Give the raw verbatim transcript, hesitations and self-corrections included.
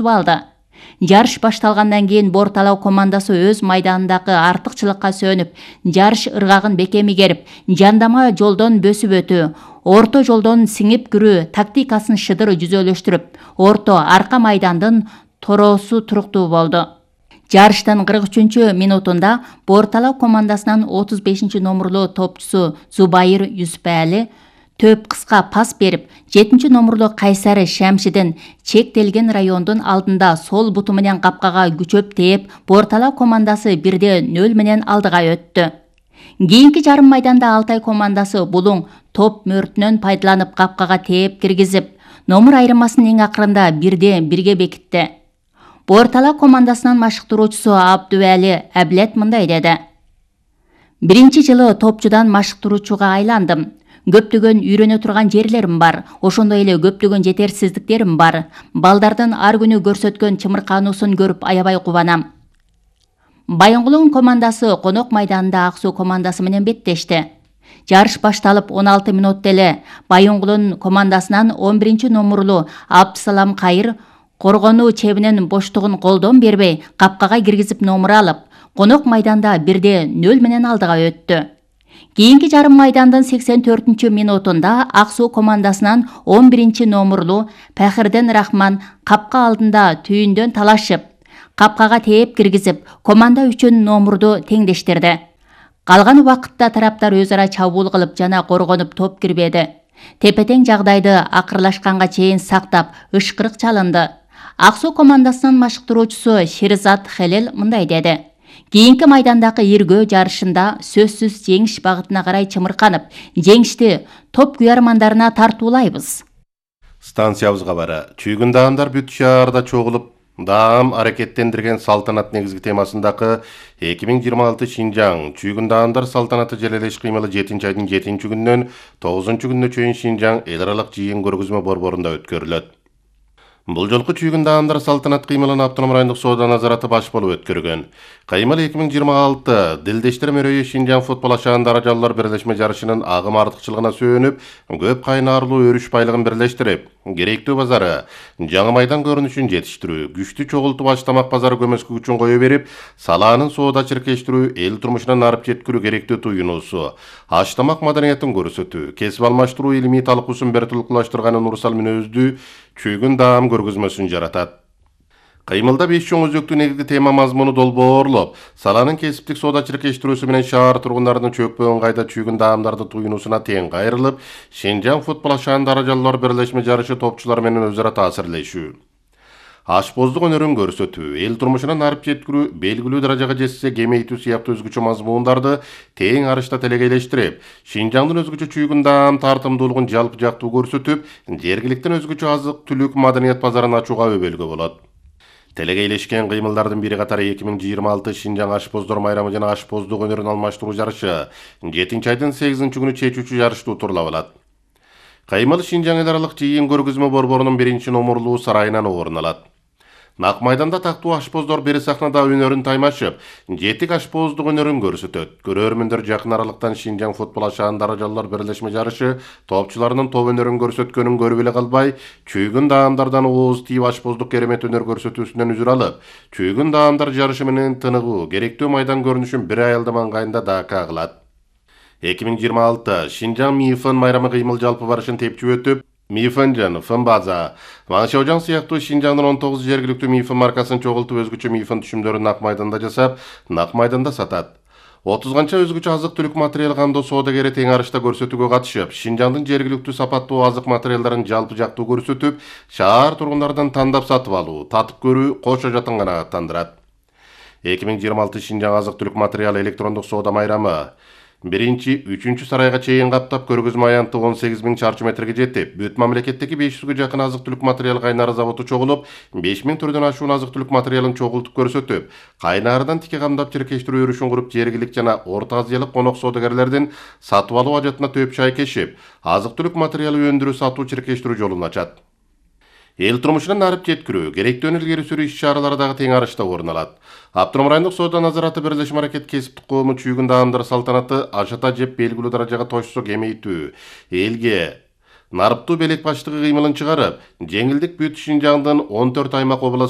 алды. Жарыш башталгандан кийин Борталау командасы өз майданындагы артыкчылыкка сөнүп, жарыш ыргагын бекеми керип, жандама жолдон бөсүп өтүү, орто жолдон сиңип кирүү тактикасын шыдыр жүзөлөштүрүп, орто арка майдандын тороосу туруктуу болду. Жарыштын кырк үчүнчү минутунда Борталау командасынын отуз бешинчи номерлуу топчусу Зубайыр Юсупали төп кыска пас берип, жетинчи номерлуу Кайсары Шамшидин чектелген райондун алдында сол буту менен капкага күчөп тээп, Борталау командасы бирде нөл менен алдыга өттү. Кийинки жарым майданда Алтай командасы булуң топ мөртүнөн пайдаланып капкага тээп киргизип, номер айырмасын эң акырында бирде бирге бекитти. Борталау командасынын машыктыруучусу Абдубали Аблет мындай деди: Биринчи жылы топчудан машыктыруучуга айландым. Көптөгөн үйрөнө турган жерлерим бар, ошондой эле көптөгөн жетерсиздиктерим бар. Балдардын ар күнү көрсөткөн чымыркануусун көрүп аябай кубанам. Байоңгулуң командасы конок майданында Ак Суу командасы менен беттешти. Жарыш башталып он алты мүнөттө эле Байоңгулун командасынан он биринчи номерлуу Абдысалам Кайыр коргонуу чебинин боштугун колдон бербей капкага киргизип номер алып, конок майданда бирде нөл менен алдыга өттү. Кийинки жарым майдандын сексен төртүнчү минутунда Ак Суу командасынан он биринчи номерлуу Пахирден Рахман капка алдында түйүндөн талашып, капкага тээп киргизип, команда үчүн номерду теңдештирди. Калган убакытта тараптар өз ара чабуул кылып жана коргонуп топ кирбеди. Тепе-тең жагдайды акырлашканга чейин сактап, ышкырык чалынды. Ак Суу командасынын машыктыруучусу Шерзат Хелел мындай деди: Кийинки майдандагы иргөө жарышында сөзсүз жеңиш багытына карай чымырканып, жеңишти топ куярмандарына тартуулайбыз. Станциябызга бара чүйгүн даамдар бүт шаарда чогулуп, даам аракеттендирген салтанат негизги темасындагы эки миң жыйырма алты Шинжаң чүйгүн даамдар салтанаты желелеш кыймылы жетинчи айдын жетинчи күнүнөн тогузунчу күнүнө чейин Шинжаң эл аралык жыйын көргөзмө борборунда өткөрүлөт. Бул жолку чүйгүн даамдар салтанат кыймылын Автономдук райондук соода назараты баш болуп өткөргөн. Кыймыл эки миң жыйырма алты Дилдештер мөрөйү Шинжаң футбол ашаан даражалуулар бирлешме жарышынын агым артыкчылыгына сүйөнүп, көп кайнаарлуу өрүш байлыгын бирлештирип, керектүү базары, жаңы майдан көрүнүшүн жетиштирүү, күчтүү чогултуу баштамак базары көмөскө күчүн кое берип, салаанын соода чиркештирүү, эл турмушуна нарып жеткирүү керектүү туюнуусу, аштамак маданиятын көрсөтүү, кесип алмаштыруу илимий талкуусун бертулукташтырганын урсал мүнөздүү чүйгүн даам көргөзмөсүн жаратат. Кыймылда беш чоң өзөктүү негизги тема мазмуну долбоорлоп, саланын кесиптик соода чиркештирүүсү менен шаар тургундарынын чөкпө ыңгайда чүйгүн даамдарды туюнуусуна тең кайрылып, Шинжаң футбол ашаан даражалуулар бирлешме жарышы топчулар менен өз ара таасирлешүү, ашпоздук өнөрүн көрсөтүү, эл турмушуна нарып жеткирүү, белгилүү даражага жетсе кемейтүү сыяктуу өзгөчө мазмундарды тең арышта телегейлештирип, Шинжаңдын өзгөчө чүйгүн даам тартымдуулугун жалпы жактуу көрсөтүп, жергиликтен өзгөчө азык-түлүк маданият базарын ачууга өбөлгө болот. Телегейлешкен кыймылдардын бири катары эки миң жыйырма алты Шинжаң ашпоздор майрамы жана ашпоздук өнөрүн алмаштыруу жарышы жетинчи айдын сегизинчи күнү чечүүчү жарышты утурлап алат. Кыймыл Шинжаң эл аралык жыйын көргөзмө борборунун биринчи номерлуу сарайынан орун алат. Нак майданда тактуу ашпоздор бери сахнада өнөрүн таймашып, жетик ашпоздук өнөрүн көрсөтөт. Көрөрмөндөр жакын аралыктан Шинжаң футбол ашаан даражалуулар бирлешме жарышы топчуларынын топ өнөрүн көрсөткөнүн көрүп эле калбай, чүйгүн даамдардан ооз тийип ашпоздук керемет өнөр көрсөтүүсүнөн үзүр алып, чүйгүн даамдар жарышы менен тыныгуу, керектүү майдан көрүнүшүн бир аялдам ыңгайында дака кылат. эки миң жыйырма алты Шинжаң МИФН майрамы кыймыл жалпы барышын тепчип өтүп, МИФН, Фынбаза, Маңшаужаң сыяктуу Шинжаңдын он тогуз жергиликтүү МИФН маркасын чогултуп өзгөчө МИФН түшүмдөрүн нак майданда жасап, нак майданда сатат. отузганча өзгөчө азык-түлүк материал кандоо соодагери тең арышта көрсөтүүгө катышып, Шинжаңдын жергиликтүү сапаттуу азык материалдарын жалпы жактуу көрсөтүп, шаар тургундарынан тандап сатып алуу, татып көрүү, кошо жатын канааттандырат. эки миң жыйырма алты Шинжаң азык-түлүк материал электрондук соода майрамы биринчи, үчүнчү сарайга чейин каптап көргөзмө аянты он сегиз миң чарчы метрге жетип, бүт мамлекеттеги беш жүзгө жакын азык-түлүк материал кайнары заводу чогулуп, беш миң түрдөн ашуун азык-түлүк материалын чогултуп көрсөтүп, кайнардан тике камдап чиркештирүү өрүшүн куруп, жергилик жана Орто Азиялык конок соодагерлердин сатып алуу ажатына төп чай кешип, азык-түлүк материалы өндүрүү, сатуу, чиркештирүү жолун ачат. Эл турмушуна нарып жеткирүү, керектүү илгери сүрүү иш-чаралары дагы тең арышта орун алат. Автономдук райондук соода назараты бирлешме аракет кесиптик коому чүйгүн даамдар салтанаты ашата жеп белгилүү даражага тошсо кемейтүү, элге нарыптуу белек баштыгы кыймылын чыгарып, жеңилдик бүт Шинжаңдын он төрт аймак облас